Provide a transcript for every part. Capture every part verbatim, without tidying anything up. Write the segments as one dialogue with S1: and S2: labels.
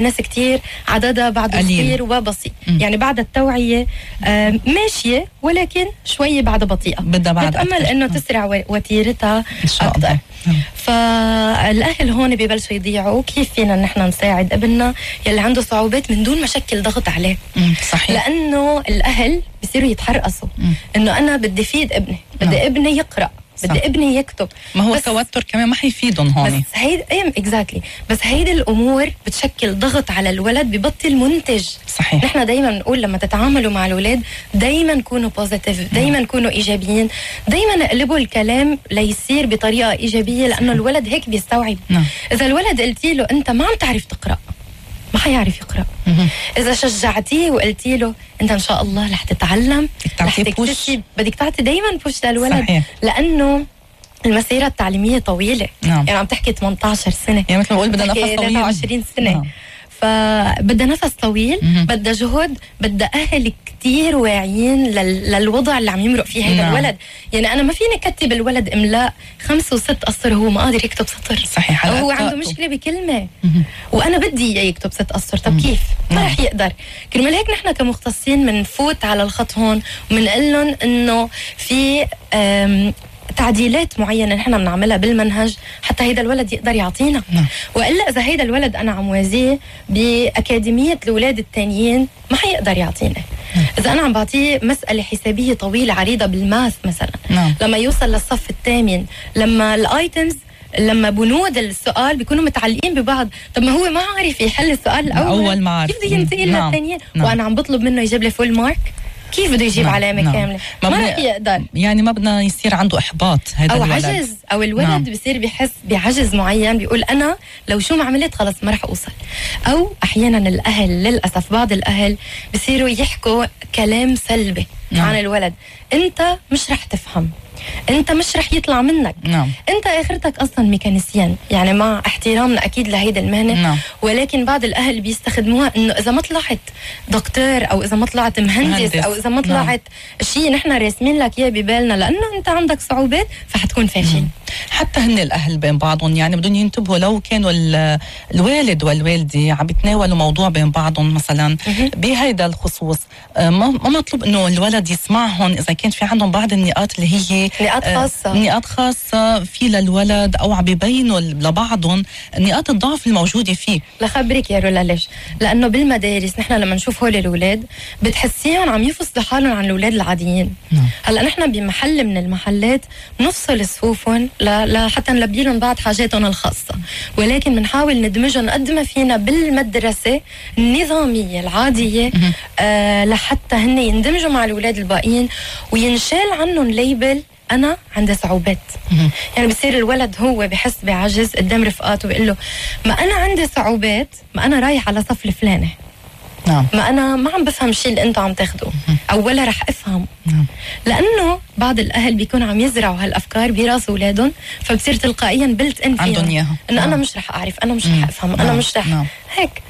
S1: ناس كتير عددها بعده كتير وبسيط. م. يعني بعد التوعية آه ماشية، ولكن شوية بعد بطيئة،
S2: بدها بعد
S1: بتأمل إنه تسرع وتيرتها أكتر. فالأهل هون ببلشوا يضيعوا. كيف فينا نحن نساعد ابننا يلي عنده صعوبات من دون ما شكل ضغط عليه؟
S2: م. صحيح.
S1: لأنه الأهل بيصيروا يتحرقصوا إنه أنا بدي فيد ابني، بدي م. ابني يقرأ، بدي صح. ابني يكتب.
S2: ما هو التوتر كمان ما حيفيدهم هون.
S1: بس هيدا ايه اكزاكتلي بس هيدي الامور بتشكل ضغط على الولد، ببطل منتج.
S2: صحيح.
S1: نحن دايما بنقول لما تتعاملوا مع الاولاد دايما كونوا بوزيتيف، دايما كونوا ايجابيين، دايما اقلبوا الكلام ليصير بطريقه ايجابيه، لانه الولد هيك بيستوعب. نعم. اذا الولد قلتي له انت ما عم تعرف تقرا، ما حيعرف يقرأ. مم. إذا شجعتيه وقلتي له أنت إن شاء الله رح تتعلم، رح تكتسب، بدك تعطي دايما بوش للولد. صحيح. لأنه المسيرة التعليمية طويلة. نعم. يعني عم تحكي ثمانية عشر سنة،
S2: يعني مثل ما بقول بدها نفس طويل،
S1: ثلاثة وعشرين سنة. نعم. فبدها نفس طويل، بدها جهد، بدها أهل كتير واعيين لل... للوضع اللي عم يمرق فيه هذا نعم. الولد. يعني أنا ما فيني كتب الولد إملاء خمس وست أسطر هو ما قادر يكتب سطر.
S2: صحيح.
S1: أو هو عنده مشكلة بكلمة مم. وأنا بدي يكتب ست أسطر. طب كيف؟ ما نعم. رح يقدر. كرمال هيك نحن كمختصين منفوت على الخط هون ومنقول لهم إنه في تعديلات معينة نحن بنعملها بالمنهج حتى هيدا الولد يقدر يعطينا. نعم. وإلا إذا هيدا الولد أنا عم وازيه بأكاديمية الأولاد التانيين ما حيقدر يعطينا. نعم. إذا أنا عم بعطيه مسألة حسابية طويلة عريضة بالماث مثلا، نعم. لما يوصل للصف الثامن، لما الآيتمز، لما بنود السؤال بيكونوا متعلقين ببعض، طب ما هو ما عارف يحل السؤال الأول،
S2: أول ما عارف
S1: كيف بده ينتقل
S2: نعم.
S1: للثانيين؟
S2: نعم.
S1: وأنا عم بطلب منه يجيب لي فول مارك، كيف بده يجيب نعم. علامة نعم. كاملة؟ ما, ما رح يقدر.
S2: يعني ما بدنا يصير عنده إحباط هذا
S1: أو
S2: الولد.
S1: عجز، أو الولد نعم. بصير بيحس بعجز معين، بيقول أنا لو شو ما عملت خلص ما رح أوصل. أو أحيانا الأهل للأسف بعض الأهل بصيروا يحكوا كلام سلبي نعم. عن الولد، أنت مش رح تفهم، انت مش رح يطلع منك. نعم. انت اخرتك اصلا ميكانيسيان، يعني مع احترامنا اكيد لهيدا المهنه. نعم. ولكن بعض الاهل بيستخدموها انه اذا ما طلعت دكتور او اذا ما طلعت مهندس, مهندس. او اذا ما طلعت نعم. شيء نحن راسمين لك اياه ببالنا لانه انت عندك صعوبات فحتكون فاشل. مم.
S2: حتى هن الاهل بين بعضهم يعني بدهم ينتبهوا، لو كانوا الوالد والوالده عم يتناولوا موضوع بين بعضهم مثلا بهيدا الخصوص، ما مطلوب انه الولد يسمعهم اذا كان في عندهم بعض النقاط اللي هي
S1: نقاط خاصة
S2: نقاط خاصة في للولد، أو عم بيبينوا لبعضهم نقاط الضعف الموجودة فيه.
S1: لخبرك يا رولا ليش؟ لأنه بالمدارس نحن لما نشوف هول الأولاد بتحسيهم عم يفصلوا حالهم عن الأولاد العاديين. نعم. هلا نحن بمحل من المحلات نفصل صفوفهم لحتى نلبي لهم بعض حاجاتهم الخاصة، ولكن بنحاول ندمجهم قد ما فينا بالمدرسة النظامية العادية آه لحتى هن يندمجوا مع الأولاد الباقيين وينشال عنهم ليبل أنا عندي صعوبات. يعني بصير الولد هو بحس بعجز قدام رفقاته بيقول له ما أنا عندي صعوبات، ما أنا رايح على صف الفلاني. نعم. ما أنا ما عم بفهم شيء اللي أنتوا عم تاخدوه أو ولا رح أفهم. نعم. لأنه بعض الأهل بيكون عم يزرعوا هالأفكار براس أولادهم، فبصير تلقائيا بلت إن
S2: عندهم إياها
S1: إنه نعم. أنا مش رح أعرف، أنا مش رح أفهم، نعم. أنا مش رح نعم. هيك.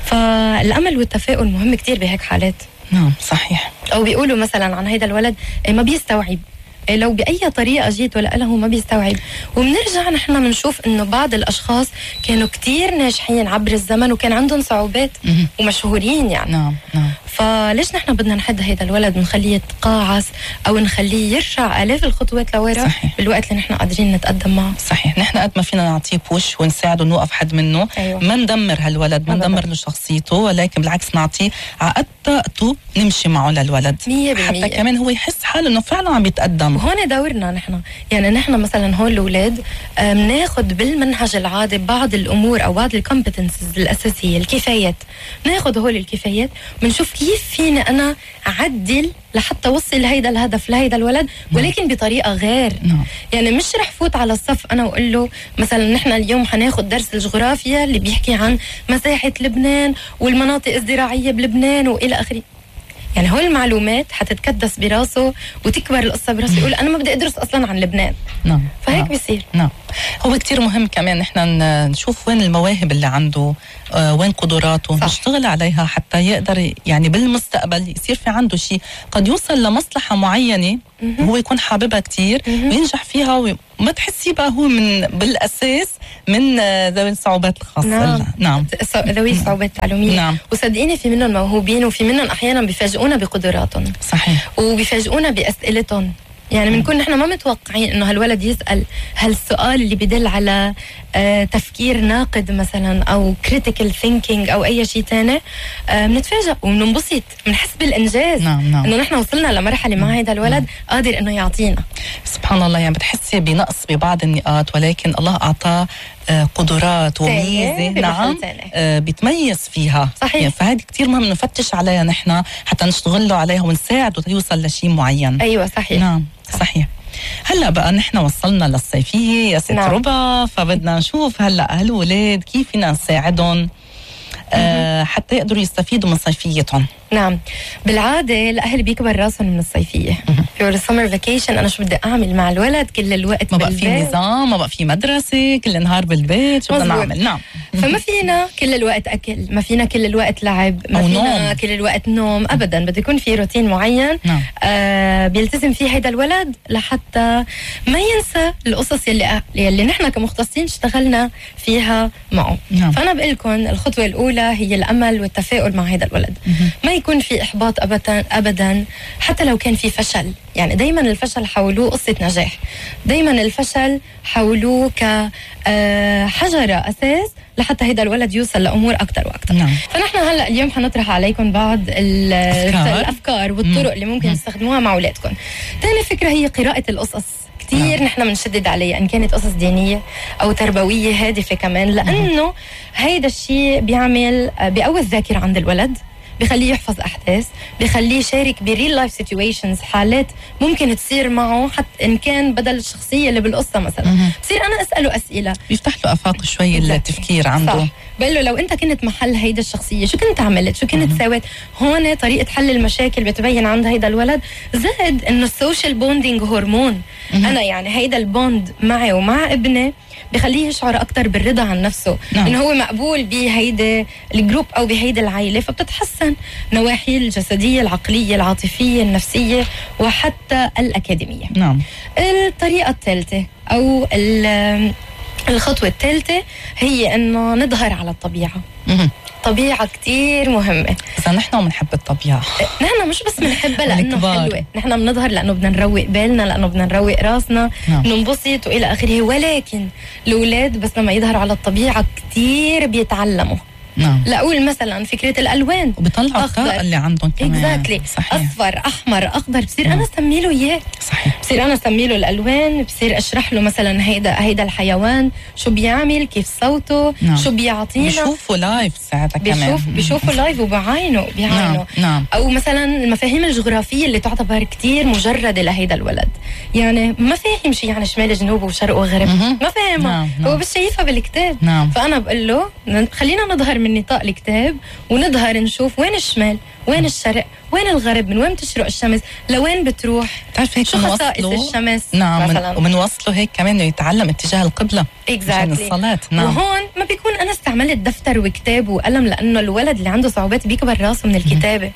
S1: فالأمل والتفاؤل مهم كتير بهيك حالات.
S2: نعم صحيح.
S1: أو بيقولوا مثلا عن هيدا الولد ما بيستوعب، لو بأي طريقة جيت ولا له ما بيستوعب. وبنرجع نحن بنشوف إنه بعض الأشخاص كانوا كتير ناجحين عبر الزمن وكان عندهم صعوبات ومشهورين يعني.
S2: نعم نعم.
S1: فليش نحن بدنا نحد هيدا الولد ونخليه يتقاعس أو نخليه يرجع آلاف الخطوات لورا بالوقت اللي نحن قادرين نتقدم معه؟
S2: صحيح. نحن قد ما فينا نعطيه بوش ونساعده نوقف حد منه. أيوة. ما ندمر هالولد، ما ندمر له شخصيته، ولكن بالعكس نعطيه عقد طاقته نمشي معه للولد
S1: مية بالمية.
S2: حتى كمان هو يحس حاله إنه فعلا عم يتقدم.
S1: وهون دورنا نحن، يعني نحن مثلا هون الأولاد بناخد بالمنهج العادي بعض الأمور أو بعض الكومبتنسز الأساسية، الكفايات، ناخد هول الكفايات بنشوف كيف فيني أنا أعدل لحتى وصل لهيدا الهدف لهيدا الولد، ولكن بطريقة غير. نعم. يعني مش رح فوت على الصف أنا وأقول له مثلا نحن اليوم حناخد درس الجغرافيا اللي بيحكي عن مساحة لبنان والمناطق الزراعية بلبنان وإلى آخره. يعني هول المعلومات حتتكدس براسه وتكبر القصة براسه، يقول أنا ما بدي أدرس أصلا عن لبنان.
S2: نعم.
S1: فهيك
S2: نعم.
S1: بيصير.
S2: نعم. هو كتير مهم كمان نحن نشوف وين المواهب اللي عنده، آه وين قدراته، صح. نشتغل عليها حتى يقدر يعني بالمستقبل يصير في عنده شيء قد يوصل لمصلحة معينة هو يكون حاببها كتير وينجح فيها وما تحسي بقى هو من بالأساس من ذوي الصعوبات الخاصة.
S1: نعم,
S2: نعم.
S1: ذوي الصعوبات التعلمية.
S2: نعم.
S1: وصدقيني في منهم موهوبين وفي منهم أحيانا بيفاجئونا بقدراتهم.
S2: صحيح.
S1: وبيفاجئونا بأسئلتهم. يعني بنكون نحن ما متوقعين انه هالولد يسأل هالسؤال اللي بدل على آه تفكير ناقد مثلا او critical thinking او اي شيء تاني. آه بنتفاجئ وبننبسط، بنحس بالانجاز.
S2: نعم نعم.
S1: انه نحن وصلنا لمرحله مع هذا الولد نعم. قادر انه يعطينا.
S2: سبحان الله، يعني بتحسي بنقص ببعض النقاط ولكن الله اعطاه آه قدرات وميزه نعم آه بيتميز فيها.
S1: صحيح.
S2: يعني فهذه كتير مهم نفتش عليها نحن حتى نشتغل له عليها ونساعده يوصل لشيء معين.
S1: ايوه صحيح.
S2: نعم صحيح. هلا بقى نحن وصلنا للصيفيه يا ست نعم. ربا، فبدنا نشوف هلا هالولاد كيف فينا نساعدهم آه حتى يقدروا يستفيدوا من صيفيتهم.
S1: نعم، بالعادة الأهل بيكبر راسهم من الصيفية. في السمر فاكيشن أنا شو بدي أعمل مع الولد كل الوقت
S2: ما بقى في نظام، ما بقى في مدرسة، كل النهار بالبيت، شو بدنا نعمل؟ نعم.
S1: فما فينا كل الوقت أكل، ما فينا كل الوقت لعب، ما
S2: أو
S1: فينا
S2: نوم.
S1: كل الوقت نوم أبدا. بده يكون في روتين معين
S2: نعم.
S1: آه بيلتزم فيه هيدا الولد لحتى ما ينسى القصص يلي يلي نحن كمختصين اشتغلنا فيها معه.
S2: نعم.
S1: فأنا بقول لكم الخطوة الأولى هي الأمل والتفاؤل مع هيدا الولد. ما يكون في إحباط أبدا أبدا حتى لو كان في فشل. يعني دايما الفشل حولوه قصة نجاح، دايما الفشل حولوه كحجرة أساس لحتى هيدا الولد يوصل لأمور أكتر وأكتر.
S2: نعم.
S1: فنحن هلأ اليوم حنطرح عليكم بعض الأفكار, الأفكار والطرق اللي ممكن تستخدموها مع أولادكم. تاني فكرة هي قراءة القصص. كتير نحن بنشدد عليها إن كانت قصص دينية أو تربوية هادفة كمان، لأنه هيدا الشيء بيعمل بيقوي الذاكرة عند الولد، بيخليه يحفظ أحداث، بيخليه يشارك بريل لايف سيتويشنز، حالات ممكن تصير معه حتى إن كان بدل الشخصية اللي بالقصة مثلا بصير أنا أسأله أسئلة،
S2: بيفتح له آفاق شوي التفكير عنده.
S1: صح. بقول له لو أنت كنت محل هيدا الشخصية شو كنت عملت، شو كنت سويت. هون طريقة حل المشاكل بتبين عند هيدا الولد. زائد إنه السوشيال بوندينج هرمون. أنا يعني هيدا البوند معي ومع ابني بخليه يشعر أكتر بالرضا عن نفسه. نعم. إنه هو مقبول بهيدا الجروب أو بهيدا العائلة، فبتتحسن نواحي الجسدية، العقلية، العاطفية، النفسية، وحتى الأكاديمية.
S2: نعم.
S1: الطريقة الثالثة أو الخطوة الثالثة هي إنه نظهر على الطبيعة.
S2: مه.
S1: طبيعة كتير مهمة.
S2: إذا نحن بنحب الطبيعة،
S1: نحن مش بس بنحبها لأنه حلوة، نحن بنظهر لأنه بدنا نروق بالنا، لأنه بدنا نروق راسنا، نعم. ننبسط وإلى آخره. ولكن الأولاد بس لما يظهروا على الطبيعة كتير بيتعلموا.
S2: نعم.
S1: لأقول مثلا فكرة الألوان
S2: وبيطلعوا الطاقة اللي عندهم كمان.
S1: exactly.
S2: صحيح.
S1: أصفر، أحمر، أخضر، بصير
S2: نعم.
S1: أنا أسمي له إياه.
S2: صحيح.
S1: بصير أنا أسمي له الألوان، بصير أشرح له مثلا هيدا هيدا الحيوان شو بيعمل، كيف صوته،
S2: نعم.
S1: شو بيعطينا.
S2: بيشوفوا لايف ساعتها كمان.
S1: بيشوف بيشوفوا لايف وبعينه بيعينه.
S2: نعم. نعم.
S1: أو مثلا المفاهيم الجغرافية اللي تعتبر كتير مجردة لهيدا الولد. يعني ما فاهم شيء يعني شمال جنوب وشرق وغرب، ما فاهمها.
S2: نعم.
S1: هو
S2: نعم.
S1: بس شايفها بالكتاب.
S2: نعم.
S1: فأنا بقول له خلينا نظهر من نطاق الكتاب ونظهر نشوف وين الشمال، وين الشرق، وين الغرب، من وين بتشرق الشمس، لوين بتروح،
S2: تعرف هيك
S1: شو خصائص الشمس.
S2: نعم. مثلا ومنوصله هيك كمان انه يتعلم اتجاه القبلة عشان الصلاة. نعم.
S1: وهون ما بيكون انا استعملت دفتر وكتاب وقلم، لانه الولد اللي عنده صعوبات بيكبر راسه من الكتابة.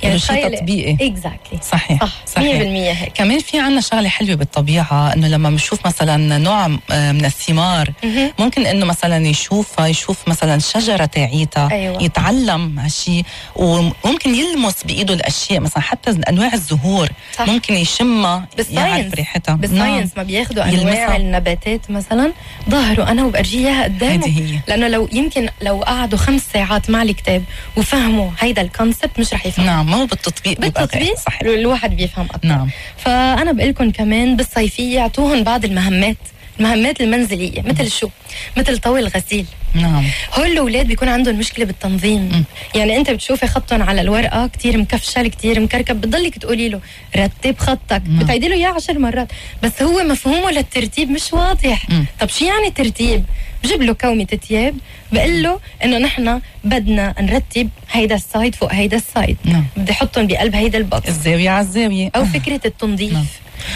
S1: يعني
S2: شيء تطبيقي.
S1: اكزاكتلي.
S2: صحيح.
S1: صح. صحيح. مية بالمية هيك.
S2: كمان في عنا شغله حلوه بالطبيعه، انه لما بنشوف مثلا نوع من الثمار
S1: مه.
S2: ممكن انه مثلا يشوفها يشوف مثلا شجره تاعيتها.
S1: أيوة.
S2: يتعلم هالشيء وممكن يلمس بايده الاشياء، مثلا حتى انواع الزهور. صح. ممكن يشمها يعرف ريحتها.
S1: بالساينس ما بياخذوا انواع يلمسها. النباتات مثلا ظهروا انا وبرجيها اياها قدامه.
S2: هي.
S1: لانه لو يمكن لو قعدوا خمس ساعات مع الكتاب وفهموا هيدا الكونسبت مش رح يفهموا.
S2: نعم. مو بالتطبيق.
S1: بالتطبيق صح. الواحد بيفهم أكتر.
S2: نعم.
S1: فأنا بقول لكم كمان بالصيفية اعطوهم بعض المهمات، المهمات المنزلية. مثل شو؟ مثل طوي الغسيل.
S2: نعم.
S1: هول الأولاد بيكون عندهم مشكلة بالتنظيم. م. يعني أنت بتشوفي خطهم على الورقة كتير مكفشل كتير مكركب، بتضلك تقولي له رتب خطك، بتعيدي له إياه عشر مرات، بس هو مفهومه للترتيب مش واضح. م. طب شو يعني ترتيب؟ بجيب له كومة تياب، بقول له إنه نحن بدنا نرتب هيدا السايد فوق هيدا السايد.
S2: نعم.
S1: بدي أحطهم بقلب هيدا البوكس،
S2: الزاوية على الزاوية.
S1: أو فكرة التنظيف. نعم.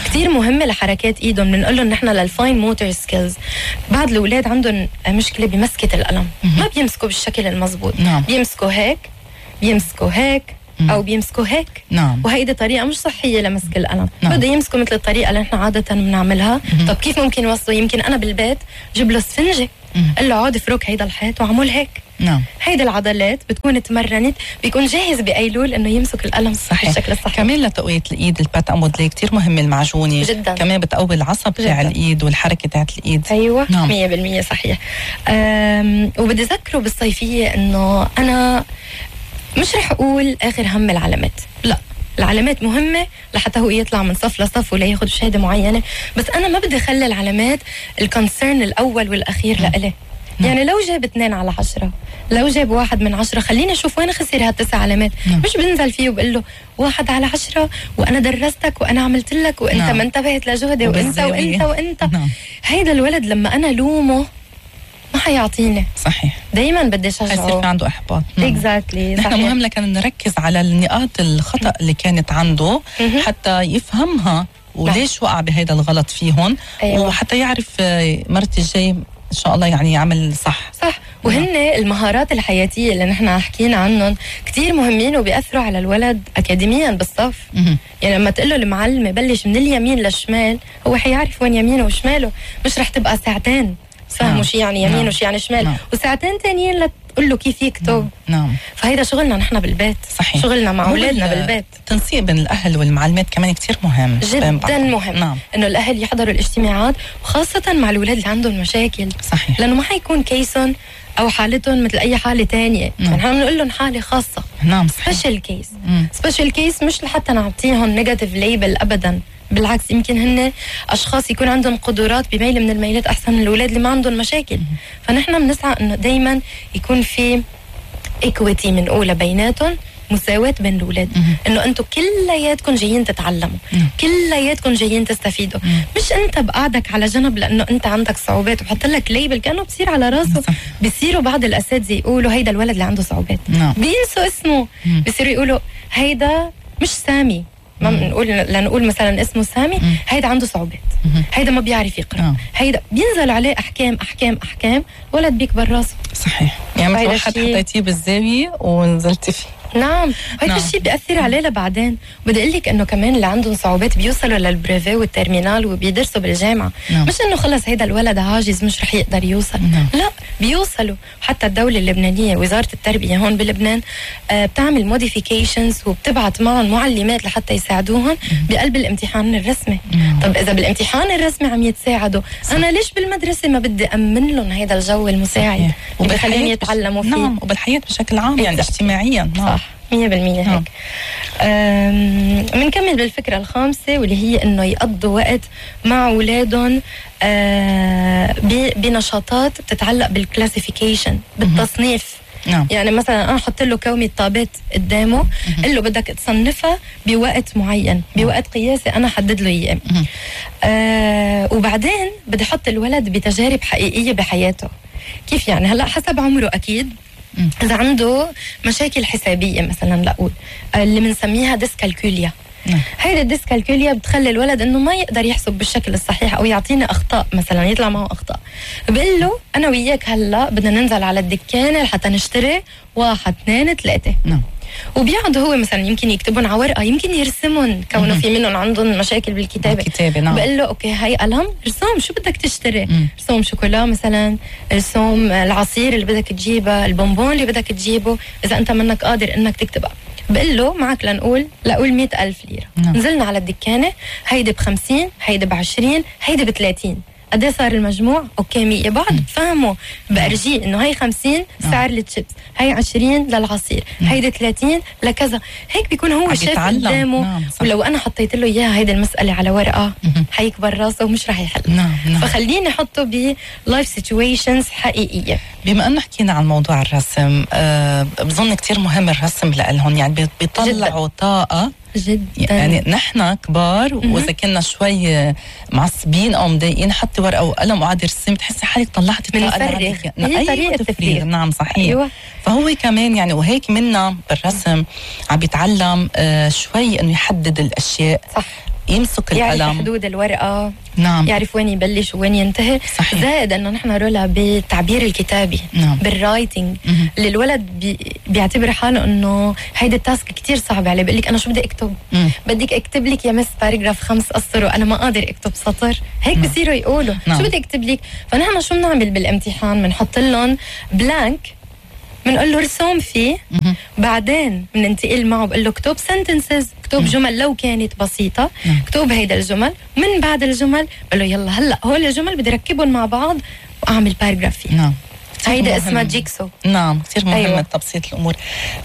S1: كتير مهمة لحركات ايدهم. بنقول لهم نحن للفاين موتور سكيلز. بعض الاولاد عندهم مشكلة بمسكة القلم، ما بيمسكوا بالشكل المزبوط.
S2: نعم.
S1: بيمسكوا هيك، بيمسكوا هيك، او بيمسكوا هيك.
S2: نعم.
S1: وهيدي طريقه مش صحيه لمسك القلم.
S2: نعم.
S1: بده يمسكوا مثل الطريقه اللي نحن عاده بنعملها. طب كيف ممكن يوصلوا؟ يمكن انا بالبيت جيب له اسفنجه، قال له عود افرك هيدا الحيط وعمل هيك.
S2: نعم.
S1: هيدي العضلات بتكون تمرنت، بيكون جاهز بايلول انه يمسك القلم صحيح بالشكل الصحيح.
S2: كمان لتقوية الايد البات امودلي كتير مهم المعجونة
S1: جدا،
S2: كمان بتقوي العصب تاع الايد والحركة تاعت الايد.
S1: ايوه
S2: نعم.
S1: مية بالمية صحيح. وبدي اذكره بالصيفية انه انا مش رح اقول اخر هم العلامات، لا، العلامات مهمة لحتى هو يطلع من صف لصف ولا ياخد شهادة معينة، بس أنا ما بدي خلي العلامات الكونسيرن الأول والأخير لإلي. يعني لو جاب اثنين على عشرة، لو جاب واحد من عشرة، خليني أشوف وين خسر هالتسع علامات. نعم. مش بنزل فيه وبقول له واحد على عشرة وأنا درستك وأنا عملت لك وأنت نعم. ما انتبهت لجهدي وأنت وأنت وأنت. نعم. هيدا الولد لما أنا لومه ما حيعطيني.
S2: صحيح.
S1: دايما بدي شجعه.
S2: حيصير في عنده احباط.
S1: اكزاكتلي.
S2: نحن مهم لكن نركز على النقاط الخطأ اللي كانت عنده حتى يفهمها وليش وقع بهيدا الغلط فيهم. أيوة. وحتى يعرف مرة الجاي ان شاء الله يعني يعمل صح.
S1: صح. وهن المهارات الحياتية اللي نحن حكينا عنهم كتير مهمين وبيأثروا على الولد أكاديميا بالصف. يعني لما تقول له المعلمة بلش من اليمين للشمال، هو حيعرف وين يمينه وشماله، مش رح تبقى ساعتين فهموا شي يعني يمين نعم. وشي يعني شمال نعم. وساعتين تانيين لتقول له كيف يكتب.
S2: نعم.
S1: فهيدا شغلنا نحن بالبيت.
S2: صحيح.
S1: شغلنا مع اولادنا بالبيت.
S2: التنسيق بين الاهل والمعلمات كمان كتير مهم
S1: جدا مهم. نعم. انه الاهل يحضروا الاجتماعات وخاصه مع الاولاد اللي عندهم مشاكل.
S2: صحيح.
S1: لانه ما حيكون كيسهم او حالتهم مثل اي حاله تانية. نعم. نحن بنقول لهم حاله خاصه.
S2: نعم.
S1: سبيشال كيس. سبيشال كيس مش لحتى نعطيهم نيجاتيف ليبل ابدا، بالعكس يمكن هن اشخاص يكون عندهم قدرات بميل من الميلات احسن من الاولاد اللي ما عندهم مشاكل. فنحن بنسعى انه دائما يكون في ايكويتي من اولى بيناتهم، مساواة بين الاولاد، انه انتم كلياتكم جايين تتعلموا، كلياتكم جايين تستفيدوا. مم. مش انت بقعدك على جنب لانه انت عندك صعوبات وبحط لك ليبل كانه بصير على راسه. بصيروا بعض الاساتذه يقولوا هيدا الولد اللي عنده صعوبات، بينسوا اسمه. بصيروا يقولوا هيدا مش سامي، ما بنقول لنقول مثلا اسمه سامي، مم. هيدا عنده صعوبات، مم. هيدا ما بيعرف يقرأ، مم. هيدا بينزل عليه أحكام أحكام أحكام، ولد بيكبر راسه.
S2: صحيح. يعني مثل واحد حطيتيه بالزاوية ونزلتي فيه.
S1: نعم. هيدا نعم. الشيء بيأثر عليه لبعدين. بدي أقول لك إنه كمان اللي عندهم صعوبات بيوصلوا للبريفي والترمينال وبيدرسوا بالجامعة. نعم. مش إنه خلص هيدا الولد عاجز مش رح يقدر يوصل. نعم. لا، بيوصلوا. حتى الدولة اللبنانية وزارة التربية هون بلبنان آه بتعمل موديفيكيشنز وبتبعت معهم معلمات لحتى يساعدوهم بقلب الامتحان الرسمي. نعم. طب إذا بالامتحان الرسمي عم يتساعدوا، صح. أنا ليش بالمدرسة ما بدي أمن لهم هيدا الجو المساعد اللي بخليهم يتعلموا فيه؟
S2: نعم. وبالحياة بشكل عام يعني اجتماعيا. نعم.
S1: صح. مية بالمية هيك. بنكمل بالفكرة الخامسة واللي هي إنه يقضوا وقت مع أولادهم بنشاطات بتتعلق بالكلاسيفيكيشن، بالتصنيف. نعم. يعني مثلا أنا حط له كومة طابات قدامه، قل له بدك تصنفها بوقت معين، بوقت قياسي أنا حدد له إياه. آه وبعدين بدي أحط الولد بتجارب حقيقية بحياته. كيف يعني؟ هلأ حسب عمره أكيد. إذا عنده مشاكل حسابية مثلا، لأقول اللي بنسميها ديسكالكوليا. هيدا الديسكالكوليا بتخلي الولد انه ما يقدر يحسب بالشكل الصحيح او يعطينا اخطاء، مثلا يطلع معه اخطاء. بقول له انا وياك هلا بدنا ننزل على الدكانه لحتى نشتري واحد اثنين ثلاثه. نعم. وبيقعد هو مثلا يمكن يكتبون على ورقه، يمكن يرسمهم كونه في منهم عندهم مشاكل بالكتابه. بالكتابه. نعم. بقول له اوكي هاي قلم، رسوم شو بدك تشتري؟ مم. رسوم شوكولا مثلا، رسوم العصير اللي بدك تجيبه، البونبون اللي بدك تجيبه، اذا انت منك قادر انك تكتبها. بقول له معك لنقول لأقول مئة ألف ليرة. نعم. نزلنا على الدكانة، هيدي بخمسين، هيدي بعشرين، هيدي بثلاثين. قد صار المجموع؟ اوكي مية. بعد فهموا بأرجيه انه هي خمسين سعر للشيبس، هي عشرين للعصير، هيدي ثلاثين لكذا. هيك بيكون هو شايف قدامه. نعم. ولو انا حطيت له اياها هيدي المسألة على ورقة، حيكبر راسه ومش رح يحل. نعم. نعم. فخليني احطه بلايف سيتويشنز حقيقية.
S2: بما انه حكينا عن موضوع الرسم، أه بظن كتير مهم الرسم لهم، يعني بيطلعوا طاقة جدا. يعني نحن كبار واذا كنا شوي معصبين او مضايقين، حتى ورقه وقلم وقعد يرسم تحسي حالك طلعتي الطاقه
S1: اللي هي طريقه التفريغ.
S2: نعم صحيح.
S1: أيوة.
S2: فهو كمان يعني وهيك منا بالرسم عم بيتعلم آه شوي انه يحدد الاشياء.
S1: صح.
S2: يمسك
S1: يعرف
S2: القلم،
S1: حدود الورقة،
S2: نعم،
S1: يعرف وين يبلش وين ينتهي.
S2: صحيح.
S1: زائد انه نحن رولا بالتعبير الكتابي،
S2: نعم،
S1: بالرايتنج،
S2: مم.
S1: اللي الولد بي بيعتبر حاله انه هيدا التاسك كتير صعب عليه، بقول لك انا شو بدي اكتب؟
S2: مم.
S1: بدك اكتب لك يا مس باراجراف خمس اسطر وانا ما قادر اكتب سطر، هيك
S2: نعم.
S1: بصيروا يقولوا
S2: نعم.
S1: شو بدي اكتب لك؟ فنحن شو بنعمل بالامتحان؟ بنحط لهم بلانك، بنقول له رسوم فيه،
S2: مم.
S1: بعدين بننتقل معه بقول له اكتب سنتنسز، اكتب
S2: مم.
S1: جمل لو كانت بسيطه،
S2: مم.
S1: اكتب هيدا الجمل، ومن بعد الجمل بقول له يلا هلا هول الجمل بدي ركبهم مع بعض واعمل باراجراف فيه.
S2: نعم،
S1: هيدا اسمها جيكسو.
S2: نعم، كثير مهم. أيوة. تبسيط الامور.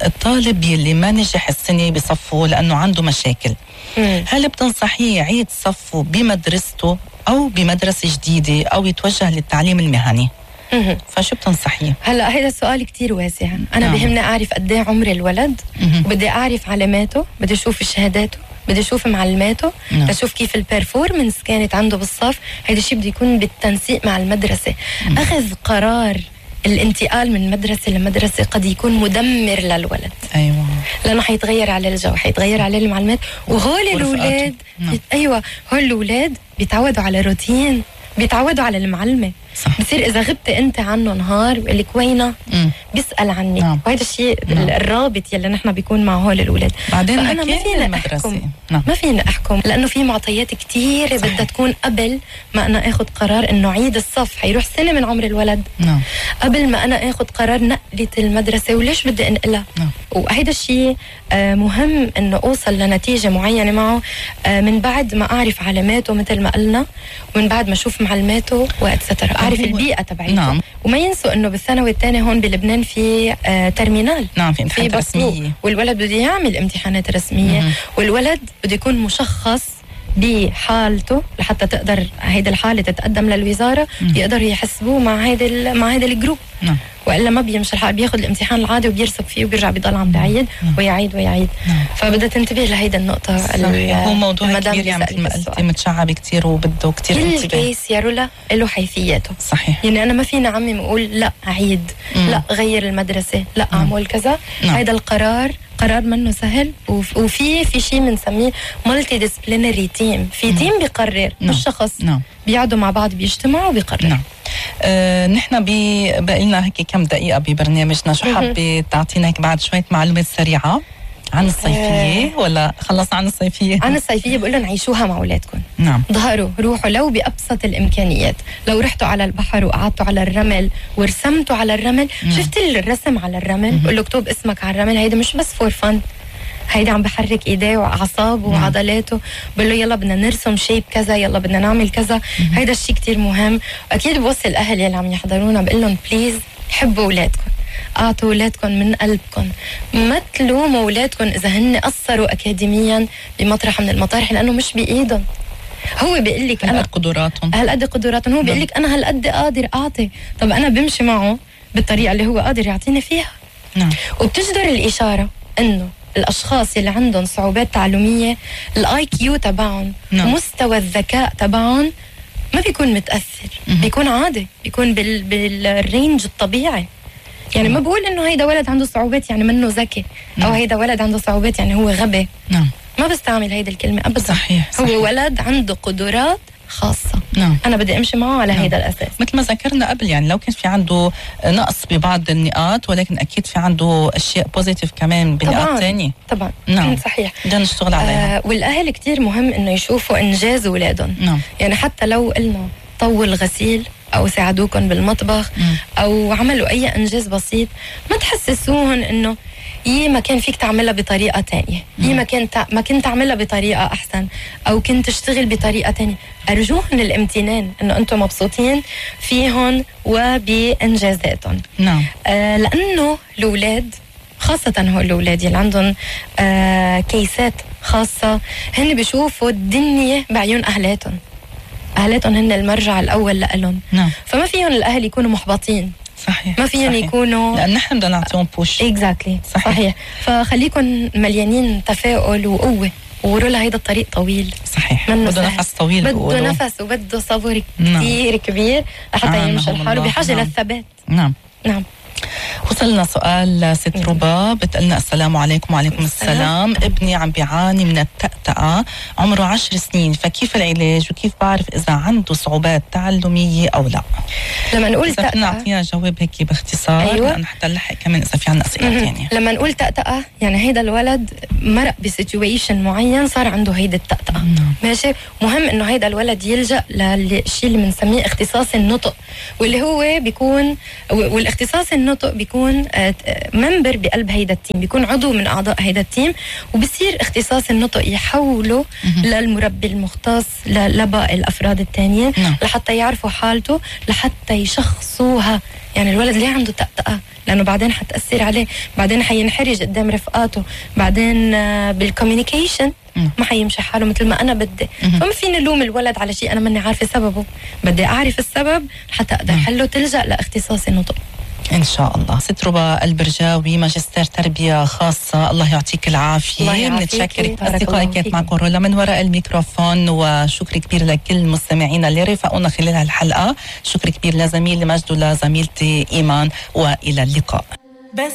S2: الطالب يلي ما نجح السنه بصفه لانه عنده مشاكل،
S1: مم.
S2: هل بتنصحيه يعيد صفه بمدرسته او بمدرسه جديده او يتوجه للتعليم المهني؟
S1: مم.
S2: فشو بتنصحيه؟
S1: هلا هيدا السؤال كتير واسع. انا
S2: نعم.
S1: بهمني اعرف قد ايه عمر الولد،
S2: مم.
S1: وبدي اعرف علاماته، بدي اشوف شهاداته، بدي اشوف معلوماته،
S2: نعم.
S1: بدي اشوف كيف البرفورمنس كانت عنده بالصف. هيدا الشيء بده يكون بالتنسيق مع المدرسه.
S2: مم.
S1: اخذ قرار الانتقال من مدرسه لمدرسه قد يكون مدمر للولد.
S2: ايوه،
S1: لانه حيتغير عليه الجو، حيتغير عليه المعلومات، وهول الاولاد
S2: نعم.
S1: ايوه هول الاولاد بيتعودوا على روتين، بيتعودوا على المعلمه.
S2: صح.
S1: بصير اذا غبت انت عنه نهار بيقول لك وينه؟
S2: مم.
S1: بيسال عنك.
S2: نعم.
S1: وهذا الشيء
S2: نعم.
S1: الرابط يلي نحن بيكون مع هول الاولاد.
S2: بعدين
S1: فانا ما فينا
S2: المدرسة.
S1: احكم،
S2: نعم.
S1: ما فينا احكم لانه في معطيات كثيره بدها تكون قبل ما انا اخذ قرار انه عيد الصف. حيروح سنه من عمر الولد.
S2: نعم.
S1: قبل ما انا اخذ قرار نقله المدرسه وليش بدي انقلها.
S2: نعم.
S1: وهيدا الشيء آه مهم انه اوصل لنتيجه معينه معه آه من بعد ما اعرف علاماته مثل ما قلنا، ومن بعد ما اشوف معلوماته واتسترا، اعرف البيئه تبعيته.
S2: نعم.
S1: وما ينسوا انه بالثانوي الثاني هون بلبنان في آه ترمينال.
S2: نعم، في امتحانات رسميه،
S1: والولد بده يعمل امتحانات رسميه. مم. والولد بده يكون مشخص بحالته لحتى تقدر هيدا الحاله تتقدم للوزاره. مم. يقدروا يحسبوه مع هيدا مع هيدا الجروب. نعم. والا ما بيمشي الحال، بياخذ الامتحان العادي وبيرسب فيه وبيرجع بيضل عم بعيد ويعيد ويعيد. نعم. فبدها تنتبه لهيدا النقطه.
S2: هو موضوع كبير يعني مثل ما قلتي، متشعب كثير وبده كثير انتباه.
S1: كل كيس يا رولا له حيثياته. صحيح. يعني انا ما فينا عمي نقول لا عيد، مم. لا غير المدرسه، لا اعمل كذا. نعم. هيدا القرار قرار منه سهل، وفي في شيء بنسميه مالتي ديسبلينري تيم. في تيم بيقرر، مش شخص. نعم. بيقعدوا مع بعض بيجتمعوا وبيقرروا.
S2: نعم. آه، نحن بقى لنا هيك كم دقيقة ببرنامجنا، شو حابة تعطينا هيك بعد شوية معلومات سريعة عن الصيفية؟ ولا خلصنا عن الصيفية؟
S1: عن الصيفية بقول لهم عيشوها مع أولادكم.
S2: نعم.
S1: ظهروا، روحوا لو بأبسط الإمكانيات. لو رحتوا على البحر وقعدتوا على الرمل ورسمتوا على الرمل. نعم. شفت الرسم على الرمل؟ بقول له اكتب اسمك على الرمل. هيدا مش بس فور فن، هيدا عم بحرك ايديه واعصابه وعضلاته. بقول له يلا بدنا نرسم شيب كذا، يلا بدنا نعمل كذا. هيدا الشيء كتير مهم. اكيد بوصي الاهل يلي عم يحضرونا بقول لهم بليز حبوا اولادكم، اعطوا اولادكم من قلبكم، ما تلوموا اولادكم اذا هن قصروا اكاديميا بمطرح من المطارح، لانه مش بايدهم. هو بيقول لك انا
S2: هالقد قدراتهم
S1: هالقد قدراتهم هو بيقول لك انا هالقد قادر اعطي. طب انا بمشي معه بالطريقه اللي هو قادر يعطيني فيها. نعم. وبتجدر الاشاره انه الاشخاص اللي عندهم صعوبات تعلميه الاي كيو تبعهم، نعم. ومستوى الذكاء تبعهم ما بيكون متاثر، م- بيكون عادي، بيكون بال بالرينج الطبيعي. يعني نعم. ما بقول انه هيدا ولد عنده صعوبات يعني منه ذكي، نعم. او هيدا ولد عنده صعوبات يعني هو غبي. نعم. ما بستعمل هيدا الكلمه ابدا. صحيح. صحيح. هو ولد عنده قدرات خاصة. نعم. أنا بدي أمشي معه على نعم. هيدا الأساس.
S2: مثل ما ذكرنا قبل، يعني لو كان في عنده نقص ببعض النقاط، ولكن أكيد في عنده أشياء بوزيتيف كمان بنقاط تانية.
S1: طبعا.
S2: نعم.
S1: صحيح.
S2: بدنا نشتغل عليها.
S1: آه والأهل كتير مهم إنه يشوفوا إنجاز أولادهم. نعم. يعني حتى لو قلنا طول غسيل أو ساعدوكم بالمطبخ، م. أو عملوا أي إنجاز بسيط، ما تحسسوهم إنه يي ما كان فيك تعملها بطريقة تانية، يي ما كنت ما كنت تعملها بطريقة أحسن، أو كنت تشتغل بطريقة تانية. أرجوهم الامتنان إنه أنتم مبسوطين فيهم وبإنجازاتهم. نعم. آه لأنه الأولاد خاصة هو الأولاد اللي عندهم آه كيسات خاصة، هن بيشوفوا الدنيا بعيون أهلاتهم. أهلاتهم هن المرجع الأول لهم. نعم. فما فيهم الأهل يكونوا محبطين. صحيح. ما فيهم يكونوا،
S2: لأن نحن بدنا نعطيهم بوش.
S1: اكزاكتلي. صحيح. صحيح. فخليكم مليانين تفاؤل وقوة، ووروا لها هيدا الطريق طويل.
S2: صحيح. بده نفس طويل،
S1: بده نفس وبده صبر كثير كبير لحتى يمشي الحال، وبحاجة للثبات.
S2: نعم.
S1: نعم.
S2: وصلنا سؤال ست ربا بتقلنا السلام عليكم. وعليكم السلام. ابني عم بيعاني من التأتأة، عمره عشر سنين، فكيف العلاج وكيف بعرف إذا عنده صعوبات تعلمية أو لا؟
S1: لما نقول
S2: تأتأة نعطيها جواب هيك باختصار.
S1: أيوة.
S2: لأن حتى نلحق كمان إذا في عنا أسئلة ثانية.
S1: لما نقول تأتأة يعني هيدا الولد مرق بسيتويشن معين صار عنده هيدا التأتأة. ماشي. مهم إنه هيدا الولد يلجأ للشيء اللي بنسميه اختصاص النطق، واللي هو بيكون والاختصاص النطق بيكون ممبر بقلب هيدا التيم، بيكون عضو من أعضاء هيدا التيم، وبصير اختصاص النطق يحوله للمربي المختص لباقي الأفراد التانيين لحتى يعرفوا حالته، لحتى يشخصوها. يعني الولد ليه عنده تأتأة؟ لأنه بعدين حتأثر عليه، بعدين حينحرج قدام رفقاته، بعدين بالكوميونيكيشن ما حيمشي حاله مثل ما أنا بدي. فما فيني لوم الولد على شيء أنا ماني عارفة سببه، بدي أعرف السبب حتى أقدر حله. تلجأ لاختصاص النطق
S2: إن شاء الله. ست ربا البرجاوي، ماجستير تربية خاصة، الله يعطيك العافية. بنتشكر أصدقائي كانت معكم رولا من وراء الميكروفون، وشكر كبير لكل المستمعين اللي رافقونا خلال هالحلقة. شكر كبير لزميلي مجد ولزميلتي إيمان، وإلى اللقاء. بس